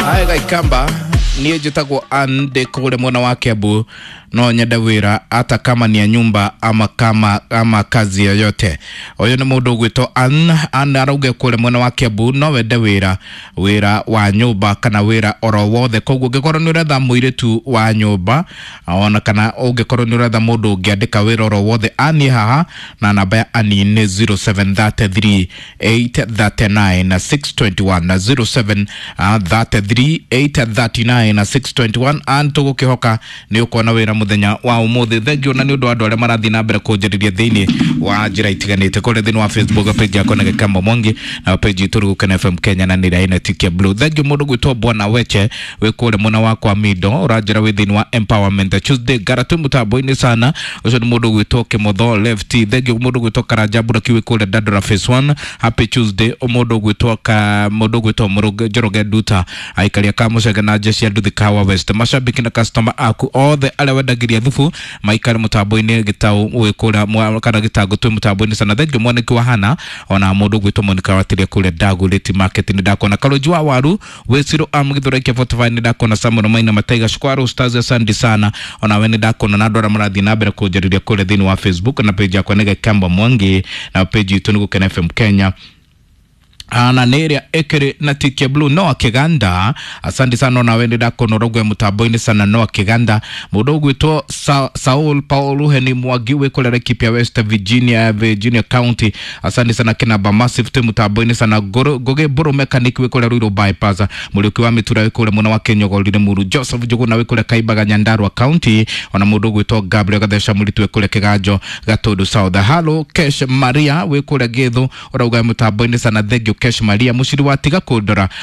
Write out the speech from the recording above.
Aya Gaikamba, niĩ njĩtagwo Ann, ndĩ kũrĩa mwena wa Kiambu. No nyende wĩra hata kama ni ya nyumba ama kama ama kazi yoyote. Ũyũ nĩ mũndũ ũgwĩtwo Ann. Ann arauga kũrĩa mwena wa Kiambu no wende wĩra, wĩra wa nyũmba kana wĩra oro wothe. Koguo ũngĩkorwo nĩ ũretha mũirĩtu wa nyũmba ona kana ũngĩkorwo nĩ ũretha mũndũ ũngĩandĩka wĩra oro wothe, Ann haha, na namba ya Ann nĩ 0733 839 621 na 0733 839 621. Ann, tũgũkĩhoka nĩ ũkuona wĩra mũthenya wa ũmũthĩ. Thengiũ na nĩ ũndũ wa andũ arĩa marathiĩ na mbere kũnjarĩria thĩinĩ wa njĩra itiganĩte kũrĩa thĩinĩ wa Facebook page yakwa na Gĩkamba Mwangi, na page itũ Rũgũkena FM Kenya, na nĩrĩa ĩna tick ya blue. Thengiũ mũndũ gwĩtwo Bwana Weche wĩ kũrĩa mwena wa kwa Mido, ũranjĩra wĩ thĩinĩ wa Empowerment Tuesday gara twĩ mũtambo-inĩ sana. Ũcio nĩ mũndũ gwĩtwo Kĩmotho Lefty. Thengiũ mũndũ gwĩtwo Karanja Buraki wĩ kũrĩa Dandora Phase 1, happy Tuesday. Mũndũ gwĩtwo ka mũndũ gwĩtwo Mũrũge Njoroge Nduta, aikaria ka Mũcege na jeshi ya Nduthi Kawa West, mashabiki na customer aku othe arĩa wendagĩria thubu maikare mũtambo-inĩ. Gĩtaũ wĩ kũrĩa kana gĩtango, twĩ mũtambo-inĩ sana. Thengiũ mwaniki wa Hana, ona mũndũ gwĩtwo Monica Watiria kũrĩa Ndagũrĩti Market, nĩ ndakona Karũnji wa Waru wĩ Ciro am Gĩthũrai kĩa 45, nĩ ndakona Samuel Maina Mataiga Shukwaru Stars, asante sana. Ona we nĩ ndakona na andũ arĩa marathiĩ na mbere kũnjarĩria kũrĩa thĩinĩ wa Facebook, na page yakwa nĩ Gĩkamba Mwangi, na page itũ nĩ Gũkena FM Kenya, na nä ä rä a ä kä rä na tick ya blue. Noa Kiganda, asante sana. Onawe nä ndakona ũraugua mũtambo-inĩ sana. Noa Kiganda, mũndũ ũgwĩtwo Saul Paul Heni Mwangi wĩ kũrĩa Laikipia West, Virginia, Virginia County, asante sana. Kinamba Massive, twĩ mũtambo-inĩ sana. Ngũgĩ Mbũrũ Mechanic wĩ kũrĩa Ruiru Bypass, Mũriũki wa Mĩtura wĩ kũrĩa mwena wa Kĩnyogorire Muru, Joseph Njũgũna wĩ kũrĩa Kaimbaga, Nyandarua County, ona mũndũ ũgwĩtwo Gabriel Gatheca Mũritu wĩ kũrĩa Kĩganjo, Gatũndũ South. Halo Kesh Maria wĩ kũrĩa Gĩthũ, ũrauga mũtambo-inĩ sana. Thank you Kesh Maria. Mũciri wa tiga kũndora.